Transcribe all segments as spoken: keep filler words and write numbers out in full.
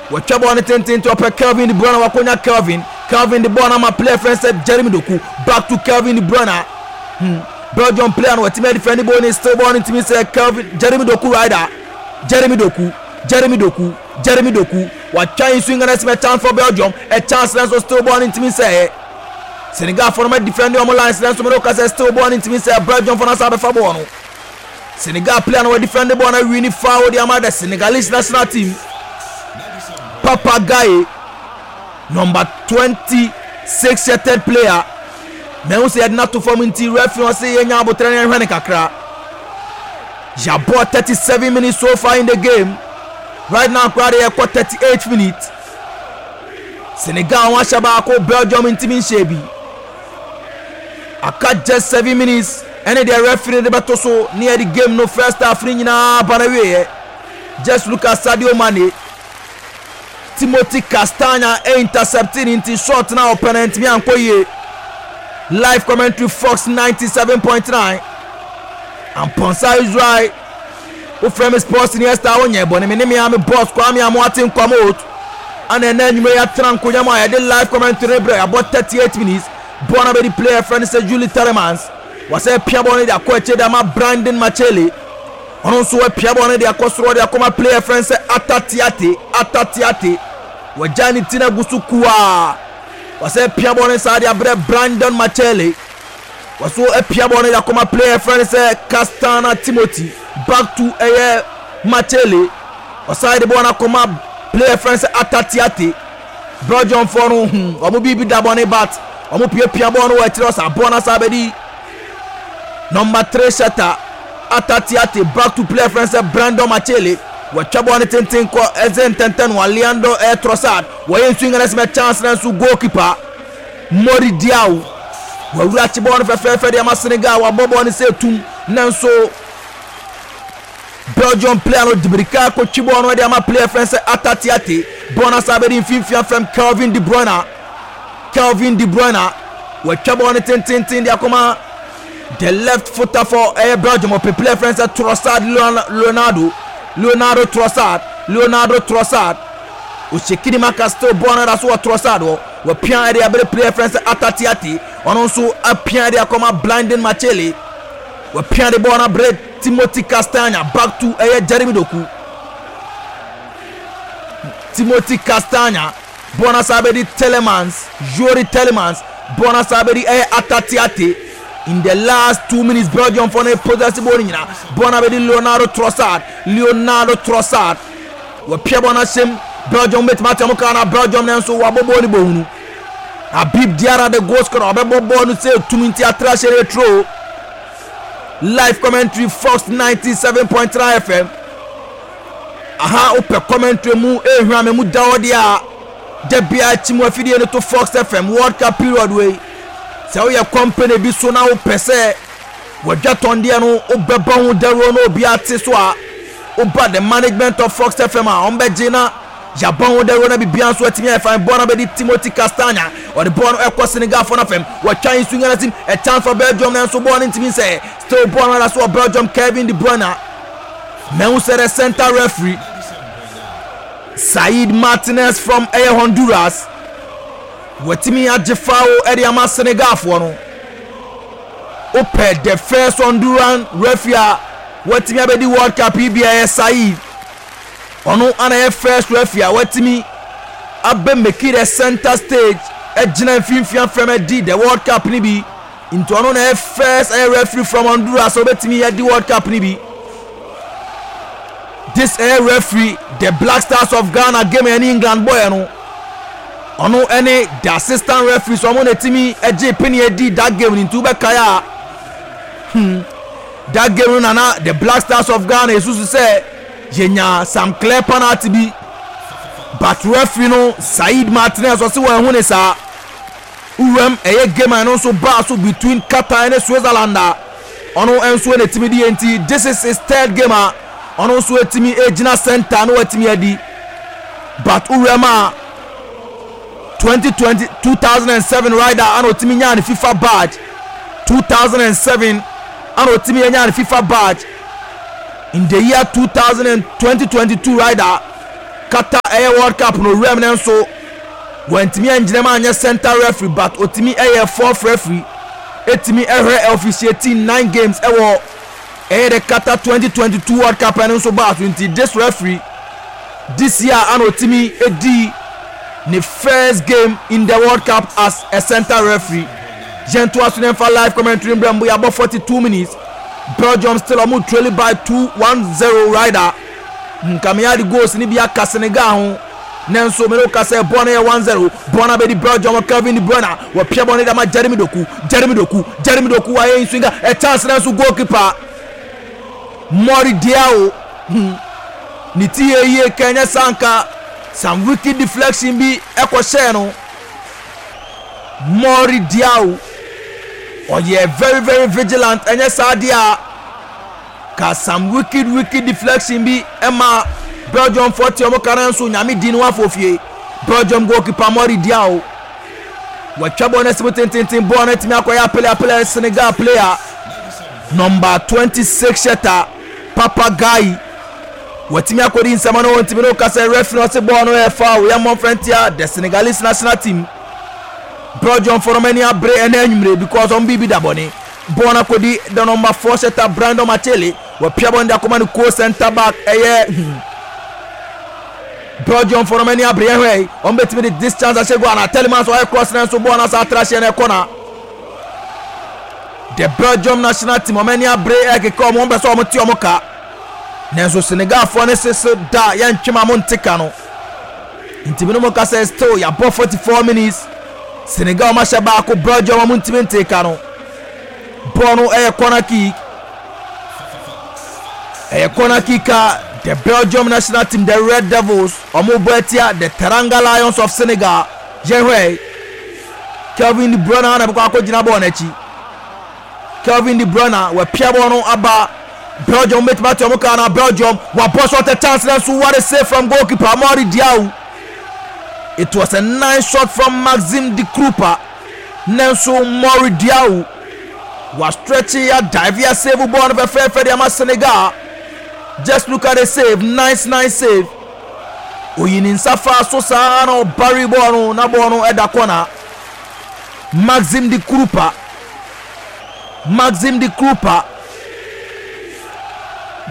Wɔtwa bɔɔl no tententen, ɔpɛ Kelvin De Bruyne. Wakonya Kelvin. Kelvin de bɔɔl no ama player frɛ sɛ Jeremy Doku. Back to Kelvin De Bruyne. hmm. Belgium player no wɔtumi adefend bɔɔl no. Still bɔɔl no ntumi sɛ Kelvin, Jeremy Doku rider, Jeremy Doku, Jeremy Doku, Jeremy Doku watwa yi nso ngana sɛ chance for Belgium, a chance na nso still bɔɔl no ntumi sɛ Senegal fo no ma defend ɔmo lines na nso mo ka sɛ still bɔɔl no ntumi sɛ Belgium fo no asa abɛfa bɔɔl no. Senegal player no wɔ defend bɔɔl no awi ni foul de ama the Senegalese national team. Papa Gueye, number twenty six third player, mɛhu sɛ yɛde n'ato fam nti referee ɔsɛ yɛnya abotire no, yɛhwɛ ne kakra. Yɛabɔ thirty seven minutes so far in the game. Right now koraa de, yɛkɔ thirty eight minutes. Senegal wɔn ahyɛ baako, Belgium ntumi nhyɛ bi. Aka just seven minutes ɛne deɛ referee de bɛto so ne yɛde game no first half ne nyinaa ba na wieɛ. Just look at Sadio Mane. Timothy Castagna intercepting nti shot na ɔpɛ no ntumi ankɔ yie. Live commentary, Fox ninety seven point nine, Amponsa Israel. Wofrɛ me Sports ni Esther, wonyɛ bɔne. Me ne me ame boss Kwame Amoate Nkwamot ana ɛna anwummerɛ yɛatena nkonnwa mu a yɛde live commentary no brɛ. Yɛabɔ thirty-eight minutes. Bɔɔl no bɛdi player frɛ no sɛ Youri Tielemans. Wɔsɛ pia bɔɔl no de akɔ akyire de ama Brandon Machele. Ɔno nso apia bɔɔl no de akɔ soro de akɔma player frɛ no sɛ Atatiate. Atatiate wɔgya ne ti no agu so kuaa. Wɔsɛ pia bɔɔl no saa de abrɛ Brandon Machele. Wɔso apia bɔɔl no de akɔma player frɛ no sɛ Castana Timothy. Back to ɛyɛ Machele. Ɔsan de bɔɔl no akɔma player frɛ no sɛ Atatiate. Belgium foɔ no hmm wɔn biribi da bɔne, but wɔn piapia bɔɔl no wɔ akyire. Ɔsa bɔɔl no asa abɛdi number three shutter Atatiate. Back to player frɛ no sɛ Brandon Machele. Wɔatwa bɔɔl no tenten kɔ ɛsɛ ntɛntɛn no Leandro ɛyɛ Trossard. Wɔyɛ nsu ngana sɛ chance na nso goalkeeper Mori Diaw wɔawura akyi bɔɔl no fɛfɛɛfɛ de ama Senegal. Wɔabɔ bɔɔl no sɛ tum nanso Belgium player no de mirika akɔtwi bɔɔl no de ama player frɛ sɛ Atatiate. Bɔɔl no asa bɛdi mfimfini fam Kelvin De Bruyne. Kelvin De Bruyne wɔatwa bɔɔl no tententen de akɔma the left footer for ɛyɛ Belgium. Ɔpɛ player frɛ sɛ Trossard. Leonardo, Leonardo Trossard, Leonardo Trossard ohyekiri maka. Still bɔɔl no da so wɔ Trossard hɔ. Wɔpia ɛde abere player frɛ sɛ Atatiate. Ɔno nso apia ɛde akɔma Brandon Machele. Wɔpia de bɔɔl no abere Timothy Castagna. Back to ɛyɛ Jeremy Doku. Timothy Castagna, bɔɔl no asa abɛdi Tielemans. Youri Tielemans, bɔɔl no asa abɛdi ɛyɛ Atatiate. In the last two minutes, Belgium fɔ no possess bɔɔl no nyinaa. Bɔɔl no abɛdi Leonardo Trossard. Leonardo Trossard wɔpia bɔɔl no ahyɛm. Belgium bɛtumi atɛm kaa na Belgium no nso wɔabɔ bɔɔl no bɔhunu. Habib Diarra, the goal scorer, ɔbɛbɔ bɔɔl no sɛ tumi nti atra hyɛ no eturo. Live commentary, Fox ninety seven point nine F M. Aha wopɛ commentary mu ehwɛ ame mu da hɔ deɛ a, da bia akyi mu afidie no to Fox F M. World Cup period wei, sɛ woyɛ company bi so na wopɛ sɛ wɔdwa tɔndeɛ no wobɛbɔ ho dawuro na obi ate so a, woba the management of Fox F M a, ɔmbɛgye na yabɔ ho dawuro na biribiara nso atumi ayɛ fine. Bɔɔl no bɛdi Timothy Castagna. Ɔde bɔɔl no ɛkɔ Senegal fo no fam. Wɔtwa nsu nyana sim, a chance for Belgium nanso bɔɔl no ntumi nsɛ. Still bɔɔl no da so wɔ Belgium, Kevin De Bruyne. Mɛhu sɛ the center referee Said Martinez from ɛyɛ Honduras wɔtumi agye foul ɛde ama Senegalfoɔ no. Wopɛ the first Honduran referee a wɔtumi abɛdi World Cup yi bi, ɛyɛ Said. Ɔno ana yɛ first referee a wɔtumi abɛ make the center stage, ɛgyina mfimfini afɛm adi the World Cup ni bi. Nti ɔno na yɛ first ɛyɛ referee from Honduras a wɔbɛtumi adi World Cup ni bi. This ɛyɛ referee, the Black Stars of Ghana game ɛne England bɔɔl no, ɔno ɛne the assistant referee so ɔmo na etimi ɛgye penny edi that game ni. Nti wobɛkae a, hmm that game no nana the Black Stars of Ghana esusu sɛ yɛnya some clear penalty bi, but referee no Said Martinez ɔsi wɔn ɛho ne saa. Wuram ɛyɛ game a ɛno nso baa so between Qatar ne Switzerland a, ɔno nso na etimi di yɛn. Nti this is his third game a ɔno nso etimi egyina center na watumi adi. But wuram a twenty twenty two thousand and seven rider ana otimi nyaa ne FIFA badge. two thousand and seven ana otimi nyaa ne FIFA badge. In the year two thousand and twenty twenty-two rider Qatar ɛyɛ World Cup no owuram no nso wɔntumi angyina mu anyɛ center referee, but otumi ɛyɛ fourth referee, etumi ɛhwɛ officiating nine games ɛwɔ ɛyɛ the Qatar twenty twenty-two World Cup. Ɛno nso baa so. Nti this referee, this year ana otumi edi ne first game in the World Cup as a center referee. Yɛn to aso ne nfa live commentary mbrɛ mbo. Yabɔ forty-two minutes, Belgium still ɔmo trailing by two one zero. Rider nkamea de goals ni bi aka Senegal ho, nanso mene woka sɛ bɔɔl no yɛ one zero. Bɔɔl no abɛdi Belgium. Kevin De Bruyne wɔpia bɔɔl no de ama Jeremy Doku. Jeremy Doku, Jeremy Doku wayɛ nswinga ɛ chance, nanso goalkeeper Mori Diaw hmm. ne ti yɛ yie kɛnyɛ sanka some wicked deflection bi ɛkɔhyɛɛ no. Mori Diaw ɔyɛ very very vigilant, ɛnyɛ saa deɛ a ka some wicked wicked deflection bi ɛma Belgium fɔ te ɔmo kara nso. Nyame di no afɔ fie. Belgium goalkeeper Mori Diaw wɔatwa bɔɔl no asi mu tententen. Bɔɔl no atumi akɔyɛ apele apele Senegal player number twenty-six sheta Papa Gueye wɔatumi akɔdi nsɛm no. Wɔntumi no kasa. Referee ɔse bɔɔl no yɛ foul, yɛ mmɔmfrɛntia the Senegalese national team. Belgium fɔ no ani abere ɛna anwummere because ɔmo biribi da bɔne. Bɔɔl no akɔdi the number four sheta Brandon Machele. Wɔpia bɔɔl no de akɔma no co center back ɛyɛ hmm. Belgium fɔ no ani abere. Ɛhwɛ yi, ɔmo bɛtumi de this chance ahyɛ goal ana? Tielemans ɔyɛ cross na nso bɔɔl no asa atra hyɛ no ɛkɔ na the Belgium national team ɔmo ani abere ɛkeka ɔmo, ɔmo pɛ sɛ ɔmo te ɔmo ka, nanso Senegalfoɔ ne sese da yɛntwem a mo nte ka no. Nti mi no mo ka sɛ still yabɔ forty-four minutes, Senegal ɔmo ahyɛ baako, Belgium ɔmo ntumi nte ka no. Bɔɔl no ɛyɛ corner kick, ɛyɛ corner kick a the Belgium national team, the Red Devils, ɔmo bɔ ɛtia the Teranga Lions of Senegal. Yɛhwɛ, Kelvin De Bruyne na bɛkɔ akɔgyina bɔɔl n'akyi. Kelvin De Bruyne wɔapia bɔɔl no aba. Belgium bɛtumi ate ɔmo kaa na Belgium wabɔ shot, a chance, nanso what a save from goalkeeper Mori Diaw. It was a nice shot from Maxim De Cuyper, nanso Mori Diaw wa stretch ya, dive ya, save bɔɔl no fɛfɛɛfɛ de ama Senegal. Just look at the save, nice nice save. Oyi ne nsa fa so saa na ɔbari bɔɔl no na bɔɔl no ɛda corner. Maxim De Cuyper, Maxim De Cuyper,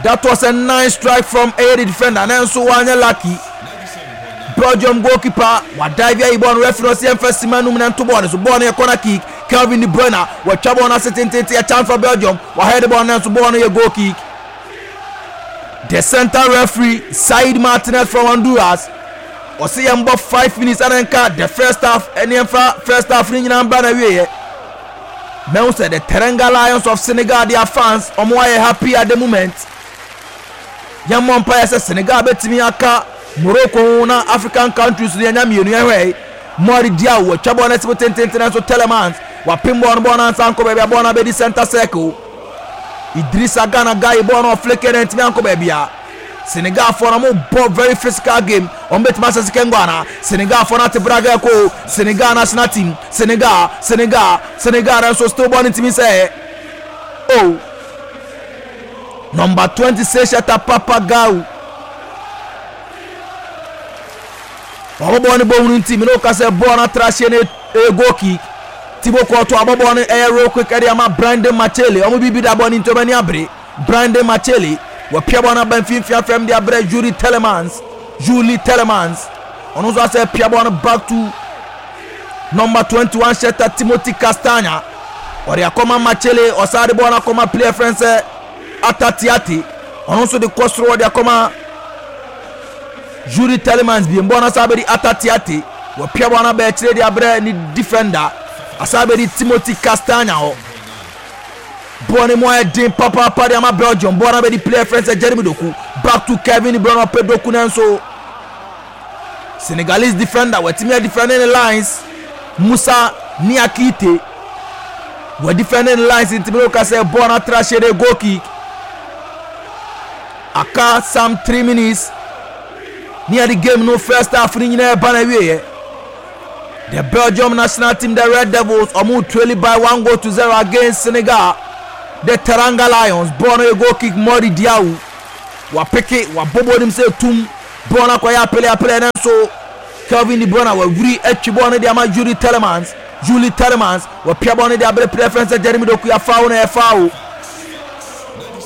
that was a nice strike from a defender, nanso wanyɛ lucky. Belgium goalkeeper wa dive ayi bɔɔl no. Referee ɔsi ɛnfɛ sima num na nto bɔɔl no so. Bɔɔl no yɛ corner kick. Kelvin De Bruyne wɔatwa bɔɔl no ase tententen, a chance for Belgium, wahɛ de bɔɔl no, nanso bɔɔl no yɛ goal kick. The center referee Said Martinez from Honduras ɔsi yɛn bɔ five minutes ɛna nka the first half, ɛne ɛnfa first half ne nyinaa mbra na wieɛ. Mɛhu sɛ the Teranga Lions of Senegal, their fans, ɔmo ayɛ happy at the moment. Yɛn mmɔ mpa yɛ sɛ Senegal bɛtumi aka Morocco ho na African countries no yɛnya mmienu. Yɛhwɛ, Mori Diaw wɔatwa bɔɔl no asi mu tententen, nso Tielemans wapem bɔɔl no, bɔɔl no ansa ankɔ baabi a bɔɔl no abɛdi center circle. Idrissa Gana Gueye bɔɔl no ɔflick no ntumi ankɔ baabi a Senegalfoɔ no ɔmo bɔ very physical game. Ɔmo bɛtumi ahyɛ second goal ana? Senegalfoɔ no ate braga ɛkɔ. Senegal national team, Senegal, Senegal, Senegal, nso still bɔɔl no ntumi sɛ oh, number twenty-six shata Papa Gueye wabɔ bɔɔl no bɔ hunu nti mene woka sɛ bɔɔl no atra hyɛ no, ɛyɛ goal kick. Thibaut Courtois abɔ bɔɔl no, ɛyɛ real quick ɛde ama Brandon Machele. Ɔmo biribi da bɔɔl no nti ɔmo ani abere. Brandon Machele wɔpia bɔɔl no aba mfimfini afɛm de abrɛ Youri Tielemans. Youri Tielemans ɔno nso asɛ pia bɔɔl no back to number twenty-one sheta Timothy Castagne. Ɔde akɔma Machele, ɔsan de bɔɔl no akɔma player frɛn sɛ Atatiate. Ɔno nso de kɔ soro, ɔde akɔma Youri Tielemans biem. Bɔɔl no asa abɛdi Atatiate. Wɔpia bɔɔl no aba akyire de abrɛ ne defender, asa abɛdi Timothy Castagne hɔ. Bɔɔl no mu ayɛ den papaapa de ama Belgium. Bɔɔl no abɛdi player frɛn sɛ Jeremy Doku, back to Kevin De Bruyne. Ɔpɛ Doku, nanso Senegalese defender wɔatumi adefend ne lines. Musa Niakite wɔdefend ne lines nti mi ka sɛ bɔɔl no atra hyɛ de goal kick. Aka some three minutes ne yɛde game no first half no nyinaa ɛba na wieɛ. The Belgium national team, the Red Devils, ɔmo trailing by one goal to zero against Senegal, the Teranga Lions. Bɔɔl no yɛ goal kick. Mori Diaw wapeke, wabɔbɔ nim sɛ tum Bɔɔl no akɔyɛ apele apele no nso Kelvin De Bruyne wawuri atwi bɔɔl no de ama Youri Tielemans. Youri Tielemans wɔpia bɔɔl no de abere player frɛ sɛ Jeremy Doku. Yɛ foul no, yɛ foul.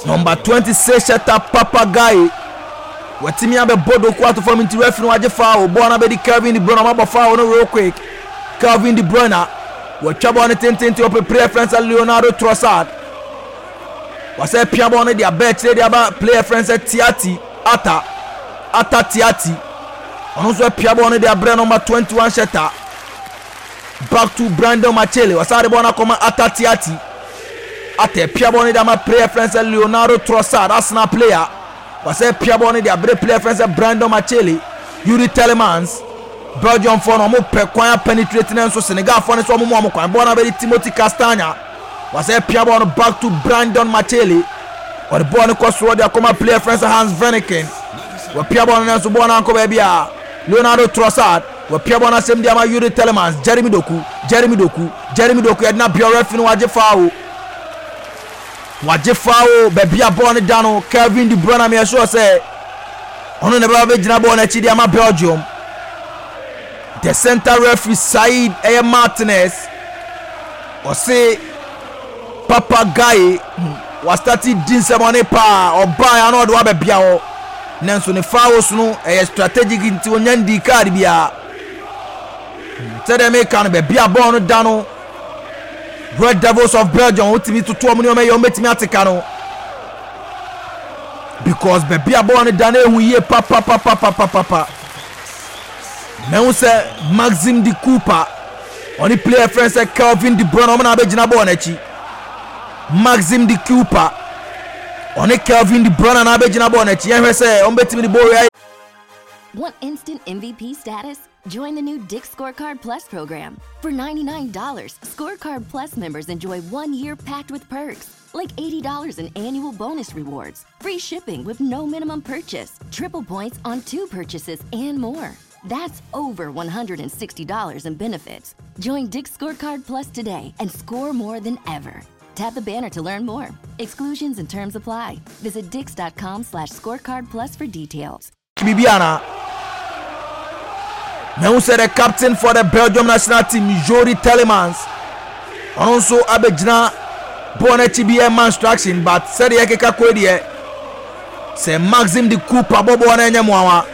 Number twenty-six hyɛta Papa Gueye watumi abɛbɔ Doku ato fam, nti referee no wagye foul. Bɔɔl no abɛdi Kelvin De Bruyne. Ɔmabɔ foul no real quick. Kelvin De Bruyne wɔatwa bɔɔl no tententen, ɔpɛ player frɛ sɛ Leonardo Trossard. Wasɛ pia bɔɔl no de aba akyire de aba player frɛ sɛ Tiati Ata Ata Tiati. Ɔno nso apia bɔɔl no de abrɛ number twenty-one hyɛta. Back to Brandon Machele. Wɔsan de bɔɔl no akɔma Ata Tiati. Ata apia bɔɔl no de ama player frɛ sɛ Leonardo Trossard, Arsenal player. Wɔsɛ pia bɔɔl no de abrɛ player frɛ sɛ Brandon Machele. Youri Tielemans. Belgium foɔ no, ɔmo pɛ kwan apenetrate ne nso Senegal foɔ no nso ɔmo mu ɔmo kwan. Bɔɔl no abɛdi Timothy Castagna. Wɔsɛ pia bɔɔl no back to Brandon Machele. Ɔde bɔɔl no kɔ soro de akɔma player frɛ sɛ Hans Vanikin. Wɔpia bɔɔl no nso bɔɔl no ankɔ baabi a Leonardo Trossard wɔpia bɔɔl no asɛm de ama Youri Tielemans. Jeremy Doku, Jeremy Doku, Jeremy Doku yɛde na bia referee no wagye foul, wagye foul. Baabi a bɔɔl no da no, Kelvin De Bruyne meyɛ sure sɛ ɔno na ɛbɛba bɛgyina bɔɔl no akyi de ama Belgium. The center referee Said ɛyɛ Martinez ɔse Papa Gueye wastart di nsɛmɔne paa. Ɔbaa ya na ɔde wabɛbia hɔ, nanso ne fouls no ɛyɛ strategic, nti onya ndi card biara. Sɛdeɛ meka no, baabi a bɔɔl no da no, Red Devils of Belgium wotumi toto ɔmo nneɛma yɛ, ɔmo bɛtumi ateka no because baabi a bɔɔl no da no ehu yie papapapapapapa. Mehu sɛ Maxim De Cuyper ɔne player frɛ sɛ Kelvin De Bruyne, ɔmo na abɛgyina bɔɔl n'akyi. Maxim De Cuyper ɔne Kelvin De Bruyne na abɛgyina bɔɔl n'akyi. Yɛhwɛ sɛ ɔmo bɛtumi de bɔɔl yi. Want instant M V P status? Join the new Dick's Scorecard Plus program. For ninety-nine dollars Scorecard Plus members enjoy one year packed with perks, like eighty dollars in annual bonus rewards, free shipping with no minimum purchase, triple points on two purchases, and more. That's over one hundred sixty dollars in benefits. Join Dick's Scorecard Plus today and score more than ever. Tap the banner to learn more. Exclusions and terms apply. Visit dicks dot com slash scorecard plus for details. Biribi ana mehu sɛ the captain for the Belgium national team, Youri Tielemans, ɔno nso abɛgyina bɔɔl n'akyi bi ɛma instruction, but sɛdeɛ ɛkeka kɔ deɛ, sɛ Maxim De Cuyper bɔ bɔɔl no ɛnyɛ mmoawa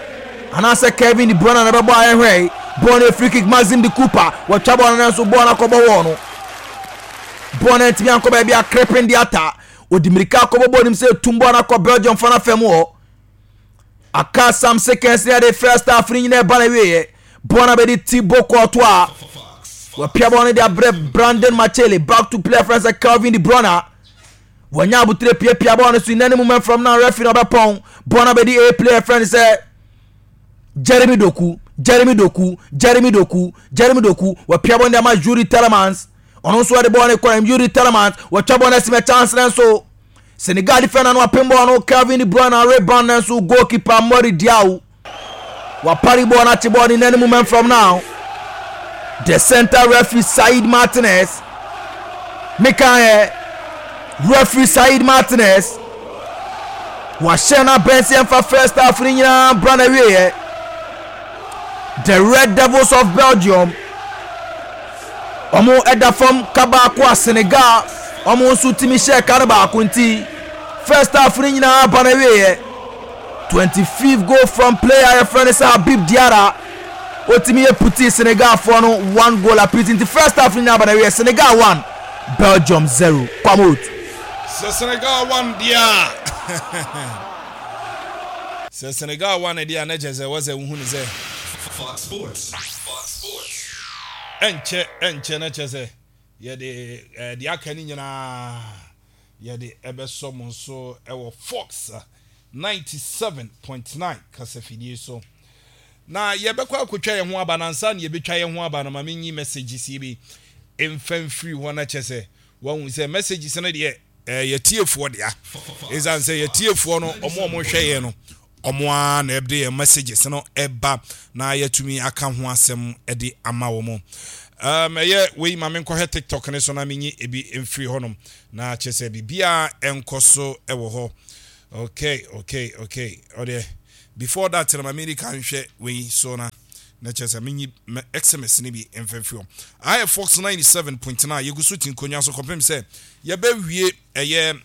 anaasɛ Kevin De Bruyne na ɛbɛbɔ a ɛhwɛ bɔɔl no. Free kick. Maxim De Cuyper wɔtwa bɔɔl no nso bɔɔl no akɔbɔ wɔɔ no. Bɔɔl no ntumi ankɔ baabi a Krepin Diatta ɔdi mirika akɔbɔ bɔɔl nim sɛ tum bɔɔl no akɔ Belgium fa no fam hɔ. Aka some seconds ne yɛde first half no nyinaa ɛba na wieɛ. Bɔɔl no bɛde Thibaut Courtois. Wɔpia bɔɔl no de abrɛ Brandon Machele. Back to player frɛ sɛ Kelvin De Bruyne. Wɔnya abotire piapia bɔɔl no so in any moment from now referee no ɔbɛpɔn. Bɔɔl no bɛdi a player frɛ sɛ Jeremy Doku, Jeremy Doku, Jeremy Doku, Jeremy Doku. Wɔpia bɔɔl no de ama Youri Tielemans. Ɔno nso wɔde bɔɔl no kɔ. Youri Tielemans wɔtwa bɔɔl no asi mɛ chance no nso Senegal defender no apem bɔɔl no. Kelvin De Bruyne rebound no nso goalkeeper Mori Diaw wapari bɔɔl no akye bɔɔl no in any moment from now. The center referee Said Martinez, meka referee Said Martinez wahyɛ no abɛn sɛ yɛmfa first half no nyinaa bra na wieɛ. The Red Devils of Belgium ɔmo ɛda fam ka baako a Senegal ɔmo nso tumi hyɛ ka no baako, nti first half no nyinaa ba na wieɛ. twenty-fifth goal from player yɛfrɛ no sɛ Habib Diarra, otumi yɛ puti Senegalfoɔ no one goal apiece, nti first half no nyinaa ba na wieɛ, Senegal one, Belgium zero. Kwamot. Sɛ Senegal one deɛ a, sɛ Senegal one deɛ a, na kyerɛ sɛ wɔ sɛ wohu ne sɛ Fox Sports. Fox Sports. ɛnkyɛ ɛnkyɛ na kyerɛ sɛ yɛde ɛɛ deɛ aka no nyinaa yɛde ɛbɛsɔ mo nso ɛwɔ Fox ninety seven point nine kasafidie so. Na yɛbɛkɔ akotwa yɛn ho aba. Nansa na yɛbɛtwa yɛn ho aba no, ma menyi messages yi bi mfa mfiri hɔ na kyerɛ sɛ wɔn sɛ messages no deɛ, ɛɛ yɛtiefoɔ dea. Ɛsiane sɛ yɛtiefoɔ no, ɔmo a ɔmo hwɛ yɛn no, ɔmo ara na ɛde yɛn messages no ɛba na yɛtumi aka ho asɛm ɛde ama wɔn. um, ɛyɛ wei ma menkɔhwɛ TikTok ne so na menyi ebi mfiri hɔnom na kyerɛ sɛ biribiara ɛnkɔ so ɛwɔ hɔ. Okay okay okay ɔdeɛ Before that na ma medi kan hwɛ wei so na na kyerɛ sɛ menyi S M S no bi mfɛmfiri hɔ. Ayɛ Fox ninety-seven point nine. Yɛgu so ti nkonnwa so kɔpem sɛ yɛbɛwie ɛyɛ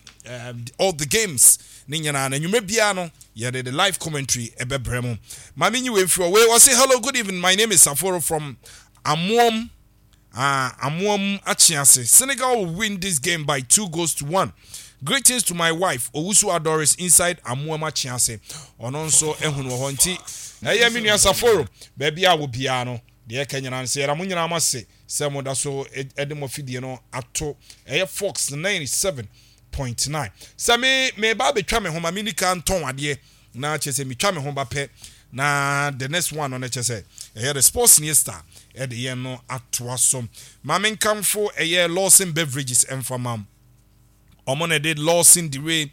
um, all the games ne nyinaa na nnwuma biara no yɛde the live commentary ɛbɛbrɛ mu. Ma menyi wei mfiri hɔ. Wei wɔse, "Hello, good evening. My name is Saforo from Amoam uh, Amoam Achiase. Senegal will win this game by two goals to one. Greetings to my wife, Owusu Adoris, inside Amoam Achiase." Ɔno nso ehunu wɔ hɔ, nti ɛyɛ me nua Saforo, baabi a wɔ biara no deɛ ɛka nyinaa no sɛ yɛda mo nyinaa mo ase sɛ mo da so ɛde mo afidie no ato ɛyɛ Fox ninety-seven point nine. Sɛ me me ba abɛtwa me ho, ma me nika ntɔn adeɛ na kyerɛ sɛ metwa me ho ba pɛ na the next one no no kyerɛ sɛ ɛyɛ the Sports News Star ɛde yɛn no atoa so. Maame, nkamfo ɛyɛ Lawson Beverages ɛmfamam. Ɔmo na ɛde Lawson Dire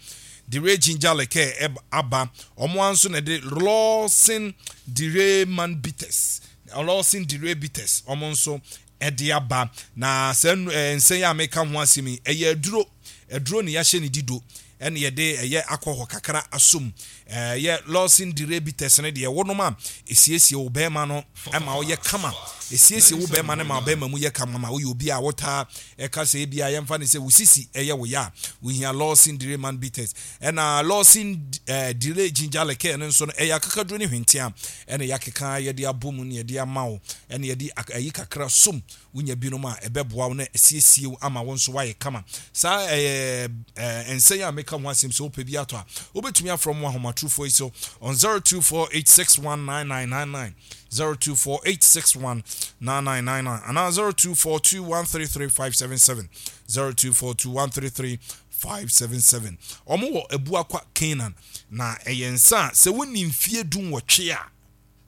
Dire Ginger Liqueur aba. Ɔmo nso na ɛde Lawson Dire Man Bitters, Lawson Dire Bitters, ɔmo nso ɛde aba. Na saa nsɛn yi a meka ho asɛm yi, ɛyɛ aduro aduro ne yɛahyɛ ne dido ɛne yɛde ɛyɛ akɔhɔ kakra asom. Ɛyɛ Lawson Dire Bitters no deɛ, wɔnom a esiesie wo bɛrima no ɛma ɔyɛ kama. Esiesie wo bɛrima no ma bɛrima mu yɛ kama. Ma woyɛ obi a wotaa ɛka sɛ ebi a yɛmfa ne sɛ wo sisi ɛyɛ wo yɛ a, wohia Lawson Dire Man Bitters. Ɛna Lawson ɛɛ Dire Ginger Liqueur no nso no, ɛyɛ akakaduro ne hwentia ɛna yɛakeka yɛde abɔ mu ne yɛde ama wo, ɛna yɛde ayi kakra som. Wonya binom a ɛbɛboa wo na asiesie wo ama wo nso woayɛ kama. Saa ɛyɛ ɛɛ nsɛn a meka ho asɛm. Sɛ wopɛ bi atɔ a, wobɛtumi afrɛ mu ahomatorofoɔ yi so on zero two four eight six one nine nine nine nine, zero two four eight six one nine nine nine nine anaa zero two four two one three three five seven seven, zero two four two one three three five seven seven. Ɔmo wɔ Abuakwa Canaan. Na ɛyɛ nsa a sɛ wonni mfie du nwɔtwe a,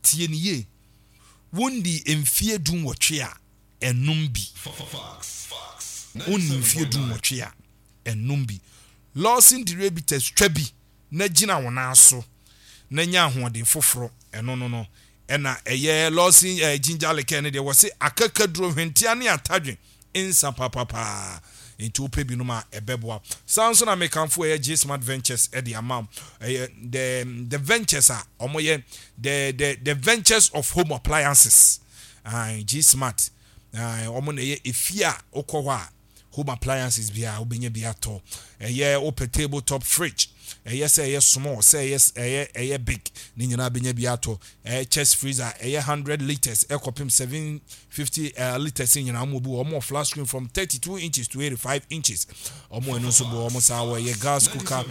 tie ne yie, wondi mfie du nwɔtwe a, ɛnum bi. Wonni mfie du nwɔtwe a, ɛnum bi. Lawson Dire Bitters, twa bi na gyina wɔn nan so na nya ahoɔden foforɔ. Ɛno no no ɛna ɛyɛ Lawson ɛɛ Ginger Liqueur no deɛ, wɔsi akakaduro, hwentia ne atadwe nsa papapaa, nti wopɛ binom a ɛbɛboa. Saa nso na mekamfo ɛyɛ G Smart Ventures ɛde ama. Ɛyɛ the the ventures a wɔyɛ the the the ventures of home appliances. uh, G Smart, wɔn na ɛyɛ efie a wokɔ hɔ a, home appliances bi a wobɛnya bi atɔ. Ɛyɛ wopɛ table top fridge, ɛyɛ sɛ ɛyɛ small, sɛ ɛyɛ ɛyɛ ɛyɛ big, ne nyinaa bɛnya bi atɔ. Ɛyɛ chest freezer, ɛyɛ hundred litres ɛkɔpem seven fifty litres nyinaa wɔn bi wɔ. Wɔn flat screen from thirty two inches to eighty five inches, wɔn ɛno nso bɔ wɔn saa wɔ. Ɛyɛ gas cooker,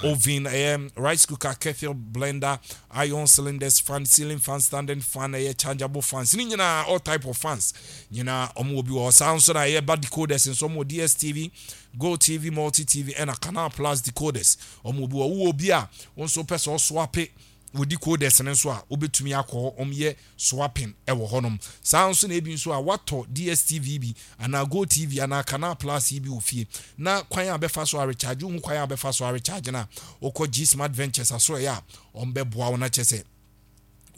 oven, ɛyɛ rice cooker, kettle, blender, iron cylinders, fan, ceiling fan, standing fan, ɛyɛ chargeable fans ne nyinaa, all type of fans nyinaa wɔn wɔ bi wɔ. Saa nso na ɛyɛ ba decoders nso, wɔn wɔ D S T V, Go T V, Multi T V ɛna Canal Plus decoders wɔn wɔ bi wɔ. Wowɔ bi a wɔn nso pɛ sɛ ɔswap wɔ decoders no nso a, wobɛtumi akɔ hɔ, wɔn yɛ swapping ɛwɔ hɔnom. Saa nso na ebi nso a watɔ D S T V bi anaa Go T V anaa Canal Plus yi bi wɔ fie na kwan a bɛfa so arecharge wohu kwan a bɛfa so arecharge na wokɔ G Smart Ventures aso, ɛyɛ a wɔn bɛboa wo na kyɛ sɛ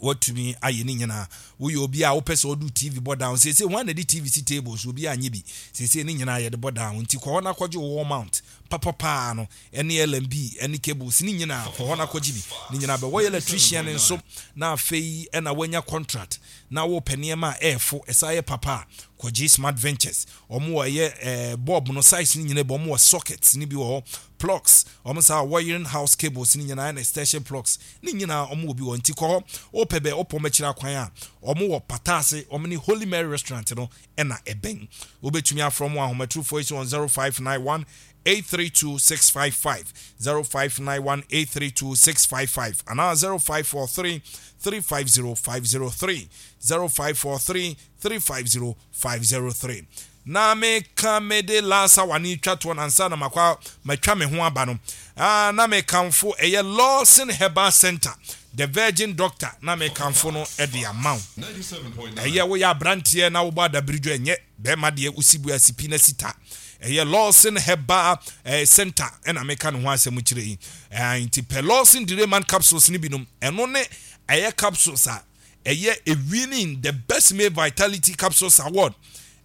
watumi ayɛ ne nyinaa. Woyɛ obi a wopɛ sɛ ɔde T V bɔ down seesei, wɔn a na de T V si table so, obi anyɛ bi seesei, ne nyinaa yɛde bɔ down. Nti kɔ hɔ na kɔgye wall mount papapaa no ɛne L and B ɛne cables ne nyinaa. Kɔ hɔ na kɔgye bi ne nyinaa bɛ. Wɔyɛ electrician nso na afei ɛna wɔanya contract na wɔpɛ nneɛma a ɛɛfo ɛsa yɛ papa a, kɔgye Smart Ventures. Wɔn wɔ ɛyɛ ɛɛ bulb no size ne nyinaa bi, wɔn wɔ sockets ne bi wɔ hɔ, plugs, wɔn saa wiring house cables ne nyinaa ɛna extension plugs ne nyinaa wɔn wɔ bi wɔ. Nti kɔ hɔ, wopɛ bɛ wopɔ mɛkyerɛ akwan a, wɔn wɔ Pataase, wɔn ne Holy Mary Restaurant no ɛna ɛbɛn. Wobɛtumi afrɛ wɔn ahomatorofoɔ yi so on zero five nine one eight three two six five five, zero five nine one eight three two six five five anaa zero five four three three five zero five zero three, zero five four three three five zero five zero three. Na meka mede lasa wane twa toɔ nansa na makɔ matwa me ho aba no. ah, na mekamfo ɛyɛ Lawson Herbal Center, the Virgin Doctor, na mekamfo no ɛde ama wo. Ɛyɛ woyɛ aberanteɛ na wobɔ adabiridwo, ɛnyɛ bɛrima deɛ wosi bu asipi na sita, ɛyɛ Lawson Herbal eh, Center ɛna meka ne ho asɛm kyerɛ yi. eh, nti pɛ Lawson Direman capsules no binom. Ɛno ne ɛyɛ capsules a ɛyɛ a winning the Best Male Vitality Capsules Award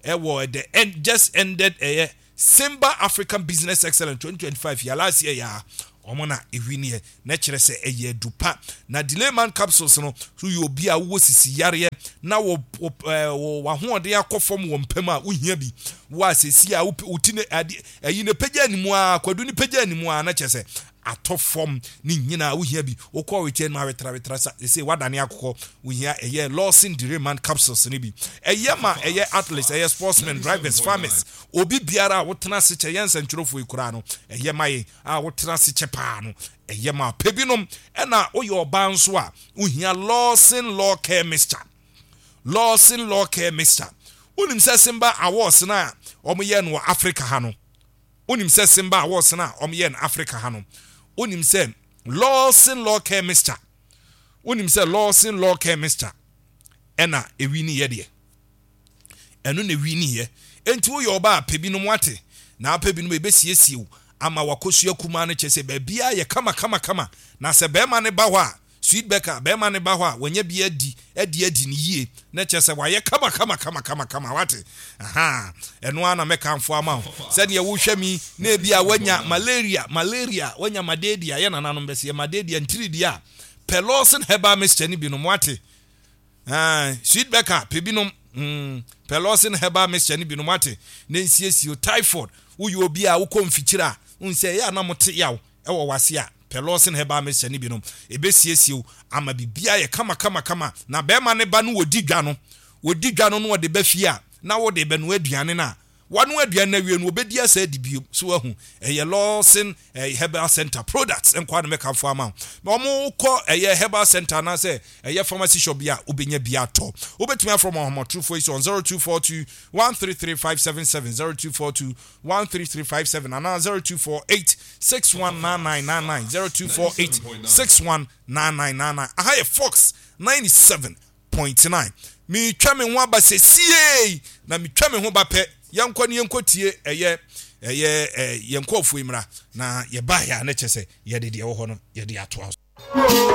ɛwɔ the end, just ended ɛyɛ Simba African Business Excellence twenty twenty-five yɛ last year yɛ a Wɔn na ewiniɛ na kyerɛ sɛ ɛyɛ adupa. Na Delayman capsules no so yɛ obi a wowɔ sisi yareɛ na wɔ wɔ ɛɛ wɔ w'ahoɔden akɔ fam wɔ mpam a, wohia bi. Wɔ a sɛsi a wo ti ne ade ɛyi ne pagya anim a, kwadu ne pagya anim a, na kyerɛ sɛ atɔ fam ne nyinaa, wohia bi. Wokɔ wekyɛ no awetrawetra sa sɛ wadane akokɔ, wohia ɛyɛ Lawson Delayman capsules no bi. Ɛyɛ ma ɛyɛ athletes, ɛyɛ sportsmen, drivers, farmers, obi biara a wotena ase kyɛ. Yɛn nsɛntwerɛfoɔ yi koraa no, ɛyɛ ma yɛn a wotena ase kyɛ paa no, ɛyɛ ma pɛ binom. Ɛna woyɛ ɔbaa nso a, wohia Lawson Law Care Mixture. Lawson Law Care Mixture, wonim sɛ Simba Awards no a wɔyɛ no wɔ Africa ha no, wonim sɛ Simba Awards no a wɔyɛ no Africa ha no, wonim sɛ Lawson Law Care Mixture, wonim sɛ Lawson Law Care Mixture ɛna ewi ne yɛ deɛ, ɛno na ewi ne yɛ. Enti woyɛ ɔbaa, pɛ binom wate, na apɛ binom ebesiesie wo ama wakosua kumaa no, kyɛ sɛ baabiara yɛ kama kama kama. Na sɛ bɛrima ne ba hɔ a, Sweet Bɛka, bɛrima ne ba hɔ a, wɔnyɛ bi adi adi adi ne yie, na kyerɛ sɛ wayɛ kama kama kama kama kama wate. Aha, ɛno ara na mɛkamfo ama wo. Sɛdeɛ wohwɛ mi na ebi a wanya malaria malaria wanya malaria, yɛ nananom bɛsɛ yɛ malaria ntiridi a, pɛ Lawson Herbal Mixture ni binom wate. Sweet Bɛka, pɛ binom mm, pɛ Lawson Herbal Mixture ni binom wate, na nsiesie typhoid. Woyɛ obi a wokɔ mfikyire a, nsɛ ɛyɛ a na mote yaw ɛwɔ wase a, pɛ Lawson Herbal Mixture ni binom, ebesiesie wo ama biribiara yɛ kama kama kama. Na bɛrima ne ba no wɔdi dwa no, wɔdi dwa no no wɔde ba fie a, na wɔde bɛnoa aduane no a, wano aduane no awie no, wɔbɛdi asa adi bio so. Wahu, ɛyɛ Lawson eh, Herbal Center products nkwa no mɛkamfo ama wo. Na wɔn kɔ ɛyɛ herbal center anaasɛ ɛyɛ pharmacy shop bi a, wobɛnya bi atɔ. Wobɛtumi afrɛ wɔn ahomatorofoɔ yi so on zero two four two one three three five seven seven, zero two four two one three three five seven anaa zero two four eight six one nine nine nine nine, zero two four eight six one nine nine nine nine. Aha yɛ Fox ninety-seven point nine. Metwa me ho aba sɛsiei, na metwa me ho ba pɛ, yɛnkɔ ne yɛnkɔ tie ɛyɛ ɛyɛ ɛ yɛn nkɔɔfoɔ yi mmra, na yɛbaeɛ a, ne kyɛ sɛ yɛde deɛ ɛwɔ hɔ no yɛde atoa so.